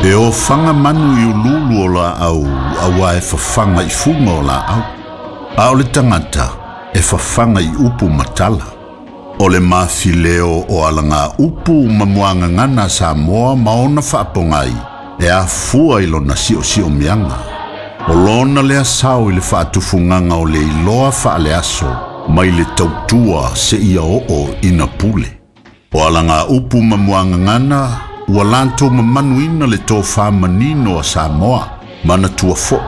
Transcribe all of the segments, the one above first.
E ofaga manu i uluulu o laau auā e fafaga i fuga o laau, a o le tagata e fafaga i upu ma tala. O le mafileo o alagaupu ma muagagana a Samoa ma ona faapogai e afua i lona siosiomiaga. O lona lea sao i le faatufugaga o le iloa faaleaso mai le tautua seia oo ina pule. O alagaupu ma muagagana ua latou mamanuina le tofa manino a Samoa, manatua foi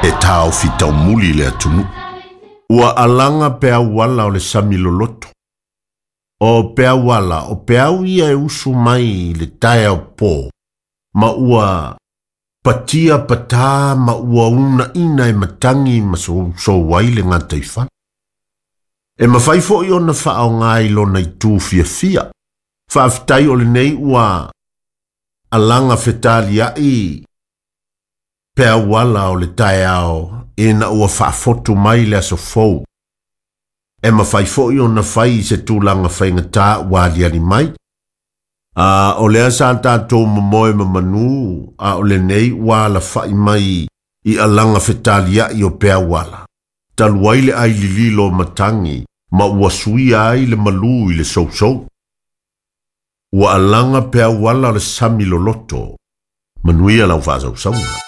e taofi taumuli le atunuu. Ua alaga peau ala o le sami loloto. O peau ala, o peau ia e usu mai i le taeao po, ma ua patia patā ma ua uunaina e matagi ma sousou ai le gataifale. E mafai foi ona faaaoga i lona itu fiafia. Faafetai o lenei ua alaga fetaliai peau ala o le taeao ina ua faafotu mai le aso fou. E mafai foi ona fai i se tulaga faigata ua aliali mai. A o lea sa tatou momoe ma manū, a o lenei ua alafai mai i alaga fetaliai o peau ala. Talu ai le ai lililo o matagi ma ua suia ai le malū i le sousou. Ua alaga peau ala o le sami loloto. Manuia lau faasausauga.